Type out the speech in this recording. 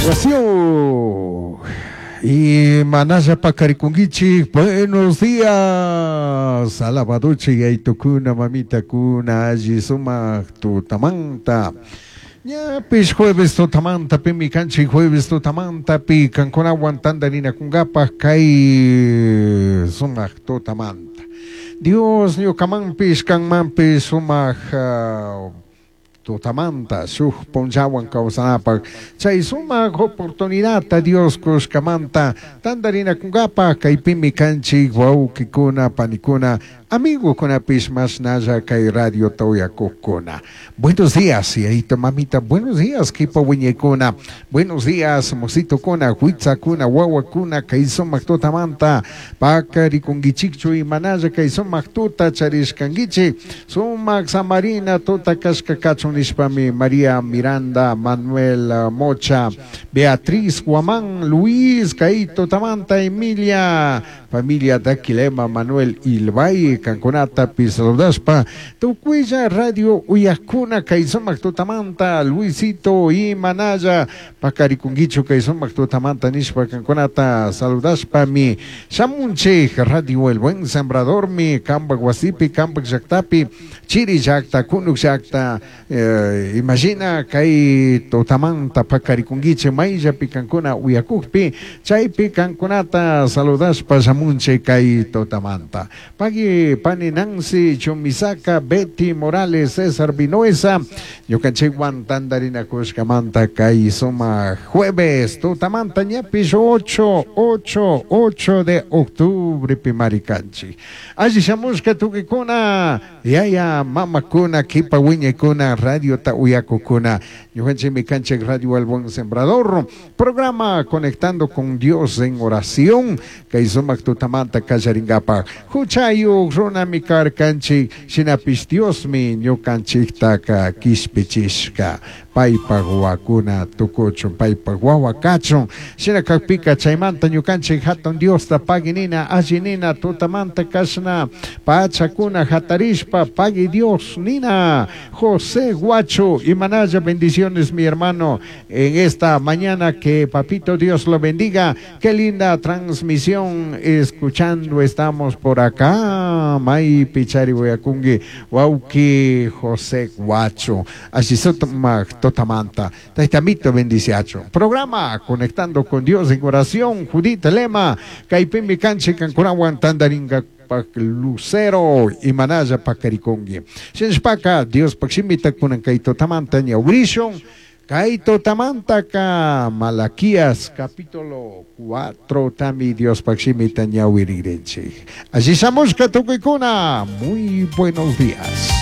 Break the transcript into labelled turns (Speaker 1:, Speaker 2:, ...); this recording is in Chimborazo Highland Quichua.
Speaker 1: Wasiu. Y manalla paqarikunkichik, buenos días. Alabadochi yaitukuna, mamitakuna, alli sumaq tutamanta. Ñapish jueves tutamanta pimi kanchik jueves tutamanta pi kankunawan tantarinakunkapaj kay sumaq tutamanta. Dios ñukamanpish kanmanpish sumaq tutamanta shuk punllawan kawsanapaj chay sumaq oportunidadta Dios kushkamanta tantarinakunkapaj kaypimi kanchik wawqikuna panikuna amigukunapish mashnalla kay radiota uyakukuna. Buenos días, yayito mamita, buenos días, kipa wiñaykuna, buenos días, mositokuna, huitzakuna, wawakuna, kay sumaq tutamanta, paqarikunkichikchu imanalla kay sumaq tuta charishkankichik, sumaq samarina tuta kashka kachun nishpami María Miranda, Manuel Mocha, Beatriz Guamán, Luis, kay tutamanta, Emilia, familia Daquilema, Manuel Ilbay, kankunatapi saludashpa, tukuylla radio uyakuna kay sumaq tutamanta, Luisito imanalla paqarikunkichu kay sumaq tutamanta nishpa kankunata saludashpami shamunchik Radio El Buen Sembradormi kampak wasipi, kampak llaktapi, chiri llakta, kunuk llakta, imagina kay tutamanta paqarikunkichik mayllapi kankuna uyakukpi, chaypi kankunata saludashpa shamunchik kay tutamanta. Pagui pani Nancy Chumisaca, Betty Morales, César Vinoesa, ñukanchikwan tantarinakushkamanta kay sumaq jueves tutamanta ñapish 8, 8, 8 de octubre pimari kanchik. Alli shamushka tukikuna, yaya mamakuna, kipa wiñaykuna, radiota uyakukuna, ñukanchikmi kanchik Radio El Buen Sembrador, programa Conectando con Dios en Oración, kay sumaq tutamanta kallaringapaj. Huchayuq runami karkanchik, shinapish Diosmi ñukanchiktaka kishpichishka, paypaj wawakuna tukuchun, paypaj wawa kachun, shina kakpika chaymanta ñukanchik hatun Diosta pagui nina, alli nina, tutamanta kashna pachakuna hatarishpa pagui Dios nina. José Guacho, imanalla bendiciones mi hermano en esta mañana, que papito Dios lo bendiga. Qué linda transmisión escuchando estamos por acá. May pichari wayakungui wauki José Guacho. Así totamanta. Taitamito bendiciacho. Programa Conectando con Dios en Oración. Judith Lema. Kaypimi kanchik kankunawan tantaringa pak Lucero imanalla paqarikunki. Shinashpaka Diospak shimita kunan kay tutamanta ñawirishun. Kay tutamantaka Malaquías capítulo 4 tami Diospak shimita ñawirigrinchik. Alli shamushka tukuykuna. Muy buenos días.